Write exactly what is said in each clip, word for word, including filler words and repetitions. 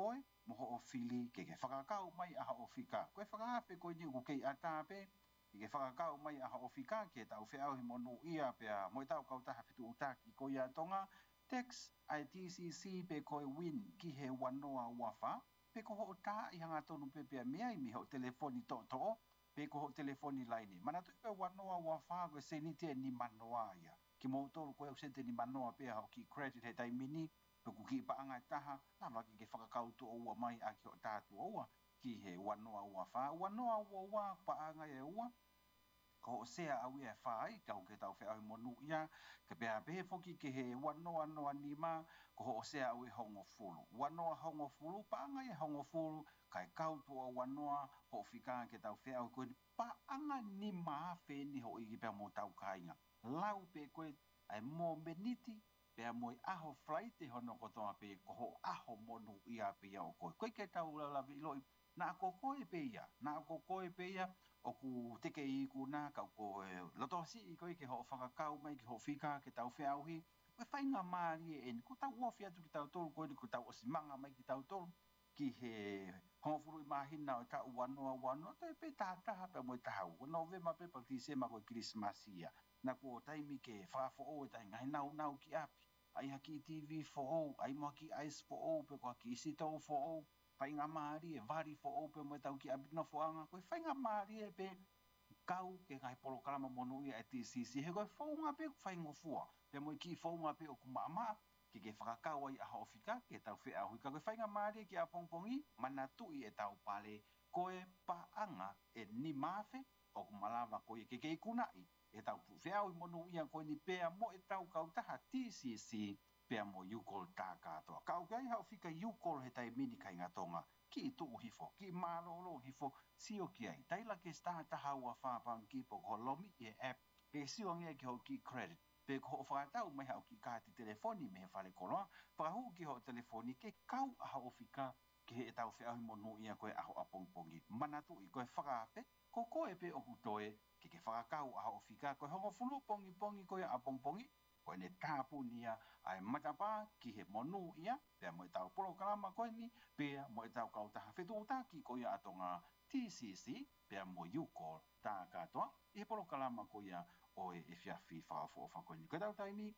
koe mo hoʻo fili ke ke fakakau mai ʻa hoʻo fika. Ko e fakaafe ko eni ʻoku kei ʻatā pē ke ke fakakau mai ʻa hoʻo fika ki heʻetau feʻauhi monūʻia pea mo ʻetau kautaha fetuʻutaki ko ia ʻa Tonga. Text ʻa e T C C pe ko e win ki he ua noa ua fā, pe ko hoʻo taaʻi hangatonu pē pea mei ai mei hoʻo telefoni toʻotoʻo, pe ko hoʻo telefoni laine. Manatuʻi ko e ua noa ua fā ko e sēniti ʻe nima noa ia. Kimoutolu ko e ʻoku sēniti ʻe nima noa pē ʻa hoʻo kiʻi credit he taimi ni, pe ʻoku kiʻi paʻanga ʻe taha, lava ke ke fakakau tuʻo ua mai ʻaki hoʻo tā tuʻo ua ki he ua noa ua fā. Ua noa ua ua paʻanga ʻe ua, ko hoʻo sea ʻaʻau ia ʻe fā ai, kau ki heʻetau feʻauhi monūʻia, ka pehē pē foki ki he ua noa noa nima, ko hoʻo sea ʻaʻau ʻe hongofulu. Ua noa hongofulu, paʻanga ia ʻe hongofulu, kae kau tuʻo ua noa hoʻo fika ki heʻetau feʻauhi ko eni, paʻanga nima afe eni hoʻo iiki pea mo hotau kāinga. Lau pē ko e ʻa e momeniti pea mo e ʻaho Falaite hono kotoa pē ko hoʻo ʻaho monūʻia pē ia ʻo koe. ʻOku ʻikai ke tau lalavi ʻiloʻi, naʻa ko koe pē ia, naʻa ko koe pē ia ʻoku teke ikuna, ka ko e loto siʻi ko ē ki hoʻo fakakau mai ki hoʻo fika ki heʻetau feʻauhi. Ko e faingamālie eni, kuo tau ofi atu kitautolu ko eni, kuo tau ʻosi manga mai kitautolu ki he hongofulu ʻi māhina ʻo e taʻu ua noa ua noa, toe pē taha taha pea mo e taha ua, ko Nōvema pē pea Tīsema ko e Kilisimasi ia. Naʻa ko e taimi ke fakafoʻou e taimi ngaahi nāunau ki ʻapi, ʻai ha kiʻi T V foʻou, ʻai mo ha kiʻi ʻaisi foʻou, pe ko ha kiʻi sitou foʻou, faingamālie, vali foʻou pea mo ʻetau kiʻi ʻapi nofoʻanga, ko e faingamālie pē kau ki he ngaahi polokalama monūʻia ʻa e T C C, he ko e founga pē ʻoku faingofua, pea mo e kiʻi founga pē ʻoku maʻamaʻa, ke ke fakakau ai ʻa hoʻo fika ki heʻetau feʻauhi. Ka ko e faingamālie ki ʻapongipongi, manatuʻi ʻetau pale, ko e paʻanga ʻe nima afe ʻoku malava ko ia ke ke ikunaʻi ʻi heʻetau feʻauhi monūʻia ko eni pea mo ʻetau kautaha T C C pea mo Yukol Takatoa. Ka ʻoku ʻi ai haʻo fika Yukol he taimi ni kāinga Tonga, kiʻi tuʻu hifo, kiʻi mālōlō hifo, sio ki ai. Taila ke star taha ua fā pound key pe ko hoʻo lomi ʻi he app, ke sio ange ki hoʻo kiʻi credit, pe ko hoʻo fakatau mai haʻo kiʻi kaati telefoni mei he fale koloa, fakahū ki hoʻo telefoni ke kau ʻa hoʻo fika ki heʻetau feʻauhi monūʻia ko e ʻaho ʻapongipongi. Manatuʻi ko e fakaafe, ko koe pē ʻoku toe ke ke fakakau ʻa hoʻo fika, ko e hongofulu pongipongi ko ia ʻapongipongi, ko ʻene tāpuni ia ʻa e matapā ki he monūʻia pea mo ʻetau polokalama ko eni, pea mo ʻetau kautaha fetuʻutaki ko ia ʻa Tonga, T C C pea mo Yukol Takatoa, ʻi he polokalama ko ia ʻo e efiafi fakaʻofoʻofa ko eni. Ko ʻetau taimi,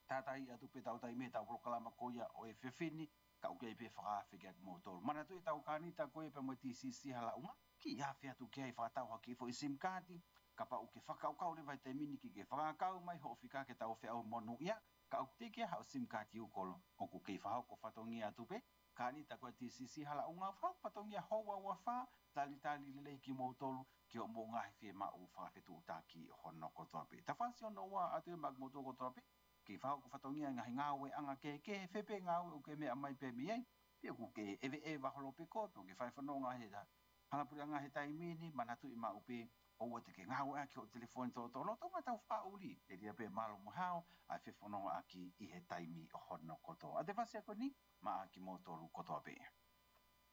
tātaaʻi atu pē ʻetau taimi ʻetau polokalama ko ia ʻo e efiafi ni, ka ʻoku ʻi ai pē fakaafe kiate kimoutolu. Manatuʻi ʻetau kānita ko ia pea mo e T C C Halaʻunga, kiʻi afe atu ki ai, fakatau ha kiʻi foʻi sim kaati, kapau ʻoku ke fakakaukau leva he taimi ni ke ke fakakau mai hoʻo fika ki heʻetau feʻauhi monūʻia, ka ʻoku teʻeki ai haʻo sim kaati Yukol, ʻoku kei fakahoko fatongia atu pē, kānita ko e T C C Halaʻunga, fakahoko fatongia houa ua fā, talitali lelei kimoutolu ki hoʻomou ngaahi fiemaʻu fakafetuʻutaki hono kotoa pē. Tafasi hono ua atu ia maʻa kimoutolu kotoa pē, ke fakahoko fatongia ngaahi ngāueʻanga kehekehe, fē pē ngāue ʻoku ke meʻa mai pē mei ai, pe ʻoku ke ʻeveʻeva holo pē koe, pe ʻoku ke fai fononga he ta-, hala puleʻanga he taimi ni, manatuʻi maʻu pē, ʻoua te ke ngāueʻaki hoʻo telefoni toʻotoʻo, lolotonga ʻetau fakaʻuli, telia pē mālō mo hao ʻa e fefonongaʻaki ʻi he taimi hono kotoa. ʻA e tefasi ko eni, maʻa kimoutolu kotoa pē.